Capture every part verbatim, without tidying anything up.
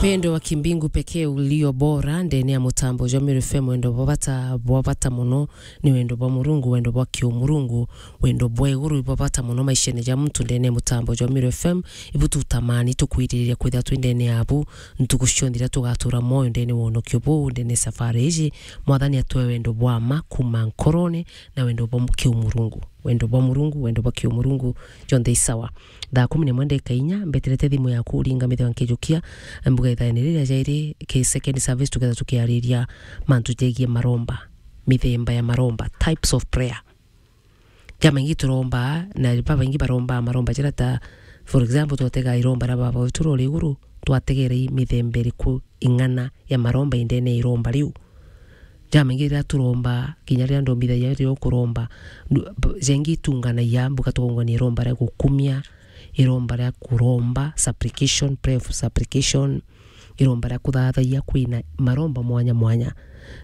Wendo wa kimbingu pekee ulio bora ndene ya mutambo jwa Meru F M, wendo bwa bata, bwa bata muno ni wendo bwa Murungu, wendo bwa kiumurungu, wendo bwa iguru ibwa bata muno maishene ja muntu ndene ya mutambo jwa Meru F M. Ibu tutamani tukwiriria kwithira twi ndene yabu ntuku cionthe iria tugatura mwoyo ndene wonokio buu ndene safari iji. Mwathani atwe wendo bwa ma kuma nkorone na wendo bwa kiumurungu. Wendo bwa Murungu, wendo bwa kiumurungu, jonthe isawa. Thaa kumi na imwe ndeka inya, mbeterete thimu yaku uringa mitheo nkijukia, mbuga ithaene riria jairi ki second service tuketha tukiariria mantu jegie maromba, mithemba ya maromba, types of prayer. Jamaingi turomba, na babaingi baromba maromba jira ta, for example, twatega iromba ria Baba wetu uri iguru, twategera i mithemba iriku ing'ana ya maromba indene ya iromba riu. Jamaingi riria turomba, kinya riria ndombithagia riria ukuromba, ndu-, b-, jengi itunganagia, mbuga tukaungania iromba ria gukumia, iromba ria kuromba, supplication, prayer of supplication, iromba ria kuthathagia, kwina maromba mwanya mwanya.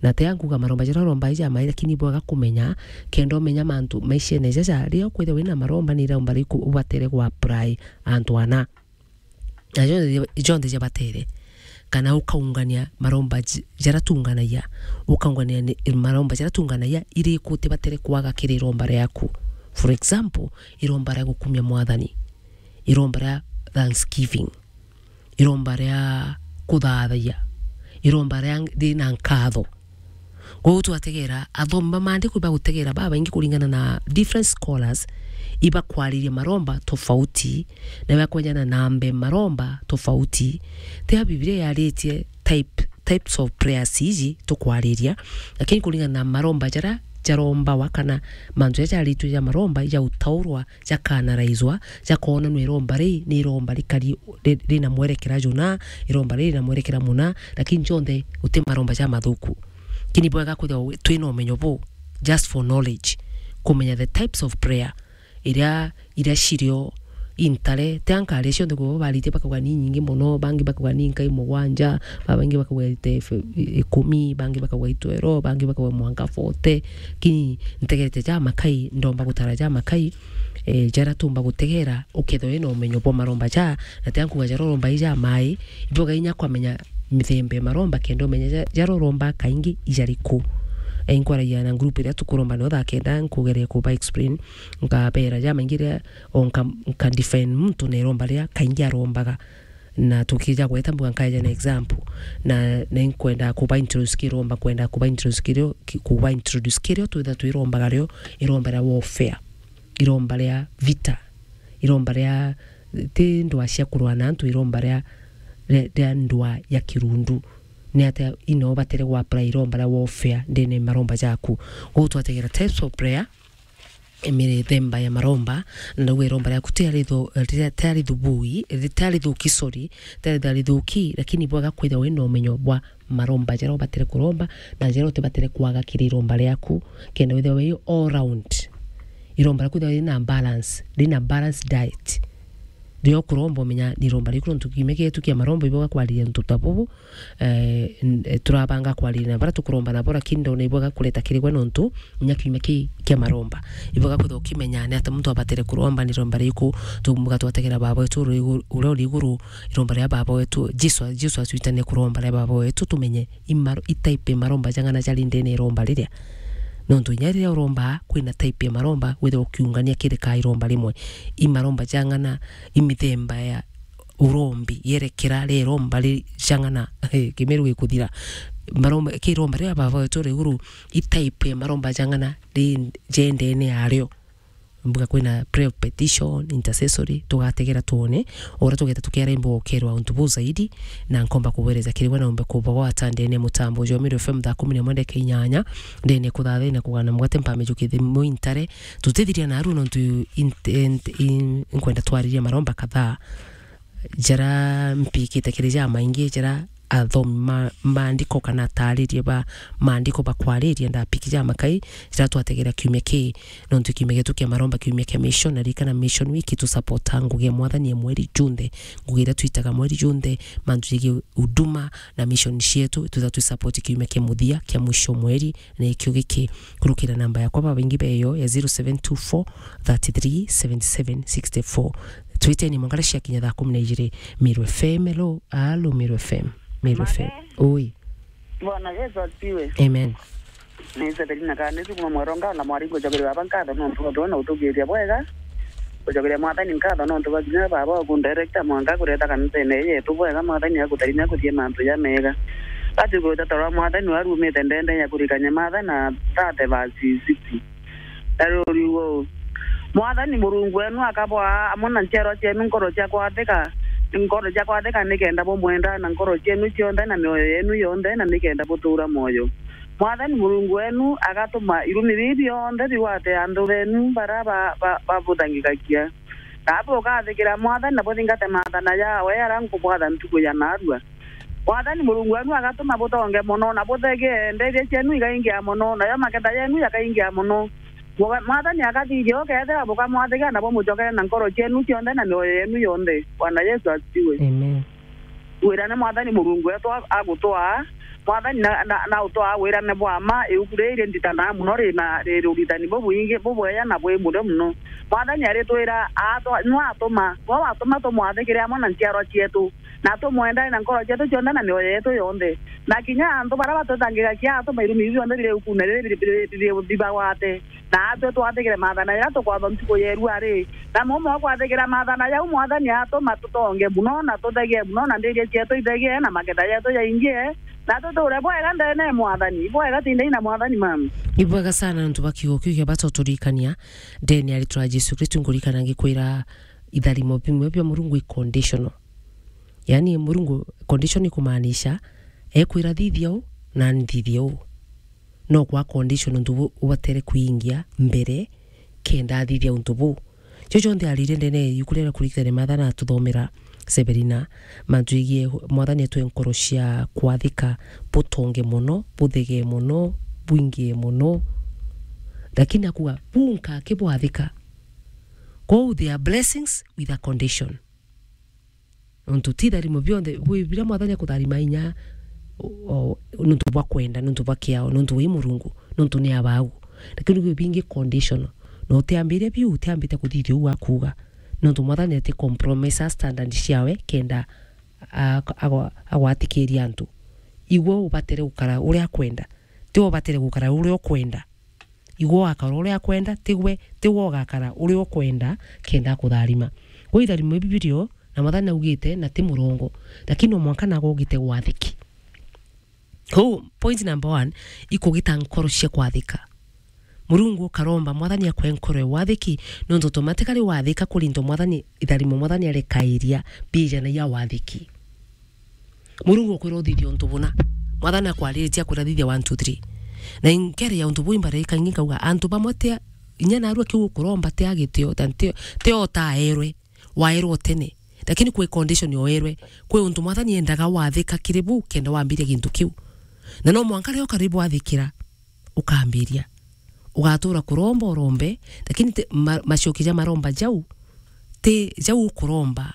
Na ti ankuga maromba jaria uromba ija mai, lakini bwega kumenya, kenda umenya mantu maishene jaja, riria ukwithirwa wina maromba, ni iromba riku ubatere gwa apply antu ana. Na jonthe, jonthe jabatere. Kana ukaungania maromba j-, jaria tunganagia. Ukaungania ni, maromba jaria tunganagia, iriku utibatere kwaga kiri iromba riaku. For example, iromba ria gukumia Mwathani. Iromba ria thanksgiving. Iromba ria kuthathagia. Iromba ria rina nkatho. Kwou twategera, athomi ba maandiko ibagutegera babaingi kuringana na different scholars, ibakwariria maromba tofauti, na ibakwenyana na mbe maromba tofauti. Tia Biblia yaritie type, types of prayers iji tukwariria, lakini kuringana na maromba jaria jarombawa kana mantu jaria jaritwe ja maromba, ijautaurwa, jakaanaraizwa, jakoonanua iromba ri ni iromba rikari ri-, rina mwerekera juna, iromba riri na mwerekera muna, lakini jonthe guti maromba jamathuku. Lakini bwega kwithirwa wi-, twina umenyo buu, just for knowledge, kumenya the types of prayer iria, iria cirio intare, ti ankaria cionthe kwithirwa baritie bakauga ni nyingi muno, bangi bakauga ni nkai mugwanja, babaingi bakauga ite f-, ikumi, bangi bakauga itwero, bangi bakauga mwanka forty, lakini ntegerete jamakai, ndomba gutara jamakai, eh, jaria tumba gutegera, ukethirwa wina umenyo bwa maromba ja, na ti ankuga jaria uromba i jamai, ibwega inya kwamenya mithemba ya maromba, kenda umenya ja-, jaria uromba kaingi ijariku. Eh, inkwaragia na group iria tukuromba nao thaa kenda, nkugeria kuba explain, nkabera jamaingi ria, o nka, nka define muntu na iromba ria kaingi arombaga. Na tukija gweta mbuga nkaeja na example. Na, na inkwenda kuba introduce kiromba, kwenda kuba introduce kirio, ki-, kuba introduce kirio twitha twirombaga rio, iromba ria warfare, iromba ria vita, iromba ria, ti ndwaa cia kurwa na antu, iromba ria, ria, ria ndwaa ya kirundu. Ni atia ino ubatere gwa apply iromba ria warfare ndene maromba jaku? Kwou twategera types of prayer, mithemba ya maromba, na ndauga iromba riaku tiarithu-, tia-, tiarithubuki, tiarithuki, sorry, tiarithuki, lakini bwega kwithirwa wina umenyo bwa maromba jaria ubatere kuromba, na jaria utibatere kwaga kiri iromba riaku, kenda withirwa wi all round. Iromba riaku rithirwa rina balance, rina balance diet. Riria ukuromba umenya ni iromba riku, nontu kiumia kietu kia maromba ibwega kwariria untu ta bubu, eh, n-, eh, turabanga kwariria na baria tukuromba nabo, lakini ndona ibwega kureta kiri gwe nontu inya kiumia kii kia maromba. Ibwega kwithirwa ukimenya ni atia muntu abatere kuromba, ni iromba riku, tumbuga twategera Baba wetu uri igu-, uria uri iguru, iromba ria Baba wetu, Jesu, Jesu atwitania kuromba ria Baba wetu, tumenye imaro-, i type ya maromba jang'ana jari ndene ya iromba riria. Nontu inya riria uromba, kwina type ya maromba, withirwa ukiungania kiri ka iromba rimwe. I maromba jang'ana, i mithemba ya urombi, yerekera ria iromba ri-, jang'ana, eh, Kimiru gikuthira. Maromba, ki iromba riria Baba wetu uri iguru, i type ya maromba jang'ana ri-, jendene yario. Mbuga kwina prayer of petition, intercessory, tugategera twone, o uria tugeta tukiara imbo ukerwa untu buu zaidi, na nkomba kubuereza kiri gwe na umbe kubagwata ndene ya mutambo jwa Meru F M thaa kumi na imwe ndeka inyanya, ndene kuthathina kugana mugate mpame jukithe muintare, tutithiria naru nontu in-, in-, in-, nkwenda twaririe maromba kadhaa, jaria mpikite kiri jamaingi, jaria athomi ma maandiko kana ataariria ba maandiko bakwariria ndapiki jamakai, jaria twategera kiumia kii, nontu kiumia gietu kia maromba, kiumia kia mission, na ririkana Mission Week tu support ngugi ya Mwathani ya mweri junthe, ngugi iria twitaga mweri junthe, mantu jegie huduma na mission cietu, twitha twi support kiumia kia muthia kia mwisho mweri, na ikio giki, kurukira namba yakwa babaingi beyo ya zero seven two four thirty three seventy seven sixty four. Twiteni mwanka cia kinya thaa kumi na ijiri. Meru F M, hello. Alo, Meru F M. Meru F M. Mage. Oi. Bwana Yesu asifiwe. Amen. Ni Severina Kanisi kuma Mweronga na Mwaringo, njokeria baba nkatho nontu bwa na utugiria bwega. Kucokeria Mwathani nkatho nontu bwa kinya baba waku director mwanka kureta kanisene yetu bwega. Mwathani agutarimia kuthie mantu ja mega. Basi gwita toro Mwathani warumite ndende ya kurikania Mathayo na thirty verse sixty. Na ruriu uu, Mwathani Murungu wenu akabwaa amwe na nchiarwa cienu nkoro cia kwathika, nkoro cia kwathika nikenda bumwenda na nkoro cienu cionthe na mioyo yenu yonthe, na nikenda butuura mwoyo. Mwathani Murungu wenu agatuma irumi biu bionthe bigwate anthu benu baria ba-, ba-, babuthangikagia. Na bukathikira Mwathani na buthingate maathana jaawe jaria nkubwatha ntuku ya naarua. Mwathani Murungu wenu agatuma butonge mono, na buthegee, ndeethia cienu ikaingia mono, nayo maketha yenu yakaingia mono. Mwa-, Mwathani akathithia ukeethira bukamwathikira na bumucokere na nkoro cienu cionthe na mioyo yenu yonthe. Bwana Yesu asifiwe. Amen. Wirane Mwathani Murungu wetu a-, agutwaa. Mwathani na, na, na utwaa wirane bwa mma, iuku riri rinditanaa mono rina riri uritani bubwingi, bubweya na bwi murio mono. Mwathani aritwira atwa-, nwe atuma, nwe watuma tumwathikire amwe na nchiarwa cietu, na tumwendane na nkoro cietu cionthe na mioyo yetu yonthe. Na kinya antu baria batutangikagia atuma irumi biu bionthe biri iukune riri biri, biri, biri, bibagwate. Na atwe twathikire maathana jaria tukwatho ntuku ya irua ri. Na mumwe ukwathikira maathana jau, Mwathani atuma tutonge mono, na tuthegee mono, na ndiria cietu ithegee, na maketha jetu jaingie, na tuture bwega ndene ya Mwathani. Bwega tindai na Mwathani, mama. Ibwega sana nontu bwa kiugo kiu kia bata uturikania. Ndene ya ritwa ria Jesu Kristu ngurikana ngikwira itharimo bimwe bia Murungu i conditional. Yaani Murungu condition ikumaanisha ekwira thithia uu na nthithia uu. No kwa condition untu bu ubatere kwingia mbere kenda athithia untu buu. Cio cionthe arire ndene ya iuku riria kurikitene Mathayo na atuthomera Severina, mantu igie Mwathani atwe nkoro cia kwathika, butonge mono, buthegee mono, bwingie mono. Lakini akuga, buu nkakibwathika. Kwou there are blessings with a condition. Nontu ti itharimo bionthe, gwi biria Mwathani akutharima inya, o, o, nontu bwa kwenda, nontu bwa kiao, nontu wi Murungu, nontu ni abau. Lakini gwi bingi conditional. Na utiambiria biu, utiambite kuthithia uu akuuga. Nontu Mwathani ati compromise standard ciawe kenda a-, agwa-, agwatikiria antu. Igwe ubatere gukara uria akwenda. Ti we ubatere gukara uria ukwenda. Igwe ugakara uria akwenda, tigwe, tigwe ugakara uria ukwenda kenda akutharima. Gwe itharimo bibirio, na Mwathani augite, na ti murongo, lakini no mwanka nago ugite gwathiki. Kou, point number one, ikugita nkoro cia kwathika. Murungu ukaromba Mwathani akwe nkoro ya wathiki, nontu automatically wathika kurinto Mwathani, itharimo Mwathani arekairia, bijana ya wathiki. Murungu ukwira uthithia untu buna. Mwathani akwariritie akwira thithia one, two, three. Na inkere ya untu buu imbara ikangi nkauga, antu bamwe ti a-, inya narua kiu ukuromba ti a gitio, ta ti, ti o utaerwe, waerwe tene. Lakini kwi condition oerwe. Kwi untu Mwathani endaga wathika kiri buu kenda wambiria gintu kiu. Na no mwanka riria ukari bwathikira, ukambiria. Ugatura kuromba urombe, lakini ti, ma-, macoki ja maromba jau, ti jau ukuromba,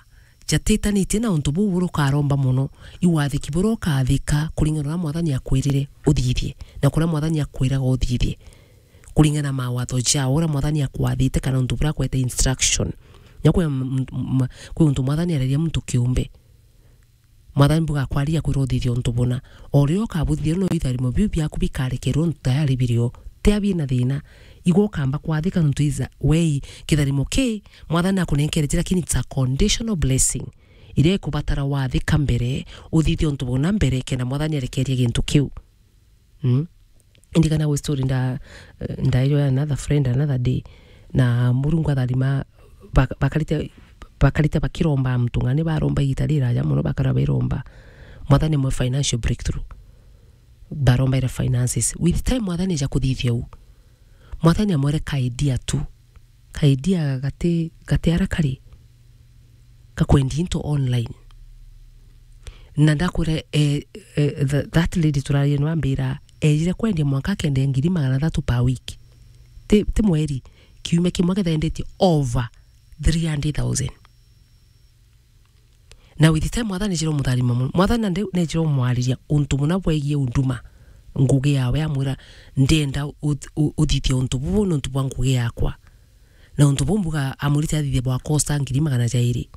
jatitanitie na untu buu buria ukaromba mono, i wathiki buria ukathika kuringana na uria Mwathani akwirire uthithie, na kuria Mwathani akwiraga uthithie, kuringana na mawatho jao, uria Mwathani akwathite, kana untu buria akwete instruction. Na kwi m-, m-, m-, kwi untu Mwathani areria muntu kiumbe. Mwathani bugakwariria kwira uthithia untu buna. O riria ukabuthithia, no itharimo biu biaku bikarekerwa untu tayari birio. Tia bina thina. Igwe ukamba kwathika nontu is a way, kitharimo ki Mwathani akunenkere, lakini it's a conditional blessing. Iria ikubatara wathika mbere, uthithia untu buna mbere, kenda Mwathani arekerie gintu kiu. Mm. Ndirikana gwi story nda-, eh, ndairwo ya another friend another day. Na Murungu atharima, bak-, bakarite, bakarite bakiromba muntu ng'ani, baromba igita riraja mono, bakara bairomba. Mwathani amwe financial breakthrough. Barombaire finances. With time Mwathani aja kuthithia u. Mwathani amwere ka idea tu. Ka idea gati, gati ara kari. Ka kwendia into online. Na ndakwira, eh, eh, th-, that lady turarie nwa ambira, ejire kwendia mwanka akenda ngiri magana athatu per week. Ti, ti mweri, kiumia kimwe aketha endetie over three hundred thousand. Na with time Mwathani nejire umutharima mono. Mwathani nande nejire umwariria untu buna bwegie huduma, ngugi yawe, amwira, "Ndenda u-, u-, uthithie untu bubu nontu bwa ngugi yakwa." Na untu buu mbuga amwirite athithie bwa cost ngiri magana jairi.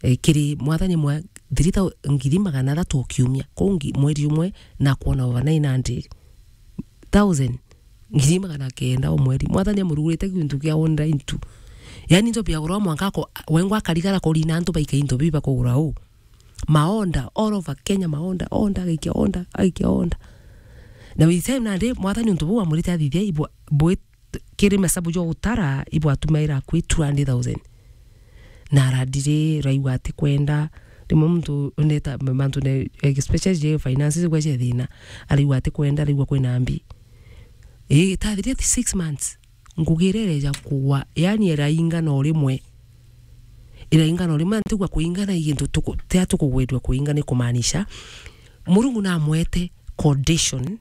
E, kiri mwathani mwa three thousand, ngiri magana athatu o kiumia. Kou ngi-, mweri umwe na kwona over nine hundred thousand, ngiri magana kenda o mweri. Mwathani amurugurite gintu kia online tu. Yaani into biagurwa mwanka ako, wengwa akarigara kurina antu baika into biu bakugura uu. Maonda, all over Kenya, maonda, onda, agaikia onda, agaikia onda. Na with time nandi, mwathani untu buu amwirite athithie, ibwa-, bwi-, kiri masabu jwa gutara, ibwatumaira akui two hundred thousand. Na aradiri, raigua ati kwenda, rimwe muntu neta, mantu ne, especially je finances gwa je thina, araigua ati kwenda, araigua kwina mbi. Ii, itathirire ti six months, ngugi iria ireja kugwa, yaani iraingana o rimwe. Iraingana o rimwe, na ntigua kuingana i gintu tuku-, tia tukugwirua kuingana, ikumaanisha, Murungu namwete condition,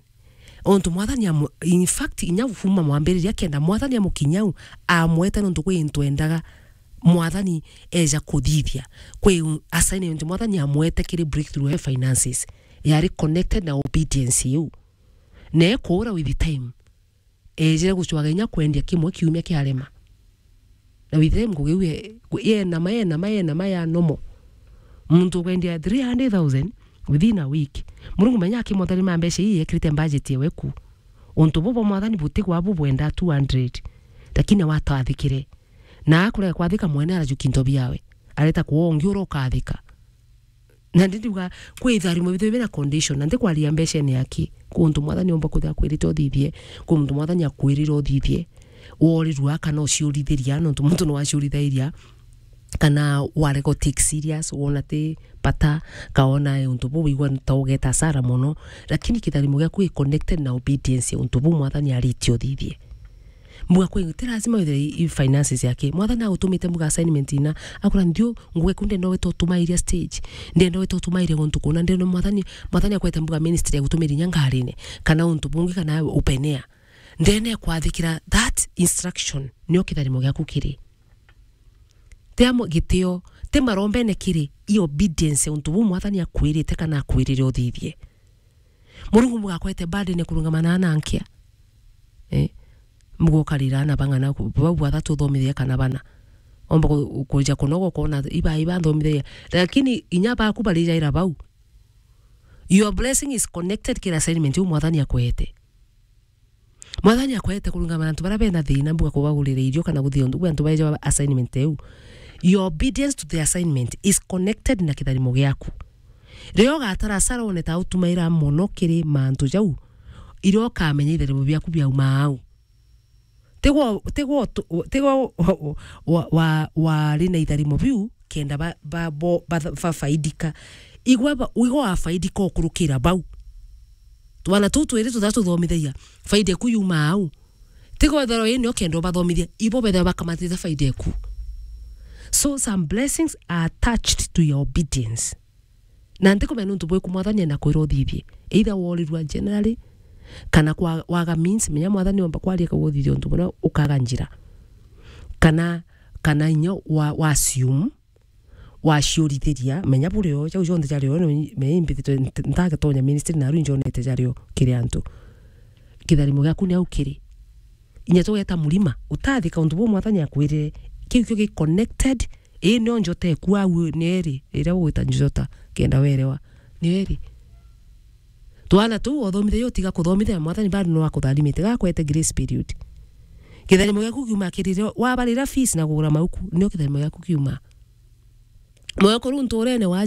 ontu mwathani amu-, in fact, inya kuuma mwambiriria kenda mwathani amukinyau, amwete nontu kwi into endaga mwathani eja kuthithia. Kwi assignment mwathani amwete kiri breakthrough ya finances, yari connected na obedience iu. Na ekuura with time, ejire gucwaga inya kwendia kimwe kiumia kiarema. Na with time ngugi iu ye-, yenama, yenama, yenama ya normal. Muntu ukwendia three hundred thousand within a week. Murungu menya akimwatha ni mbeca ii yekirite budget yewe ku. Untu bubo mwathani butigwa bubwenda two hundred. Lakini watathikire. Na akurega kwathika mwene arajukia into biawe. Areta kuwa ungi ura ukathika. Na ndi ndiuga, kwi itharimo bithwe bina condition, na ntikwaria mbecene yaki. Kwi untu mwathani omba kwithira akwirite uthithie, kwi untu mwathani akwirire uthithie, worirua kana uciurithiria, nontu muntu ni waciurithiria, kana warega u take serious, wona ti bata, ka wona untu buu wigua ta ugeta hasara mono, lakini kitharimo giaku i connected na obedience ya untu buu mwathani aritie uthithie. Mbuga kwi, ti lazima withire i, i finances yake. Mwathani agutumite mbuga assignment ina, akura ndio, nguge ku ndenda wete utumairia stage. Ndenda wete utumairia guntu kuna, ndenda mwathani, mwathani akwete mbuga ministry agutumire inya ngarine, kana untu bungi, kana open air. Ndene kwathikira that instruction, nio kitharimo giaku kiri. Ti amo gitio, ti marombene kiri, i obedience untu buu mwathani akwirite kana akwirire uthithie. Murungu mugakwete burden ya kurungamana na nkia. Eh? Mugokarira na bang'ana ku-, bau bathatu uthomithia kana bana. Omba ku-, kuja kunoga ukona iba, iba nthomithagia. Lakini inya baku barijaira bau. Your blessing is connected kira assignment iu mwathani akwete. Mwathani akwete kurungamana na antu baria bena thina, mbuga kubagurira irio kana guthia untu, antu baeja assignment iu. Your obedience to the assignment is connected na kitharimo giaku. Riria ugatara hasara wone ta utumaira mono kiri mantu jau, iria ukamenya itharimo biaku biauma au. Tigwo, tigwo tu-, tigwo wa, wa, wa, wari na itharimo biu, kenda ba, ba, bo, ba, bafaidika. Igwe ba, igwe wafaidika ukurukira bau. Twana tuu twiri tuthatu tuthomithagia, faida eku yuma au. Tigwo ethirwa ini ukenda ubathomithia, ibo bethirwa bakamatite faida eku. So some blessings are attached to your obedience. Na ntikumenya nuntu bwiku mwathani ena kwira uthithie. Either worirua generally, kana kwa, waga means, menya mwathani omba kwaria kauga uthithie untu buria ukaga njira. Kana, kana inya wa, wa assume, waciurithiria, menya burio, jau jonthe jario, menya imbithitwe nta-, ntagetonya ministry naru injonete jario kiri antu. Kitharimo giaku ni au kiri. Inya tugeta murima, utathika untu buu mwathani akwirire. Kiu kio gi connected, ii nio njota eku au ni eri, iria ugwita njota, kenda werewa, ni eri. Twana tuu othomithia utiga kuthomithia, mwathani bado no akutharimite, gakwete grace period. Kitharimo giaku kiuma kirire, wabarira fees na kugura mauku, nio kitharimo giaku kiuma. Moyo kuru nturene wa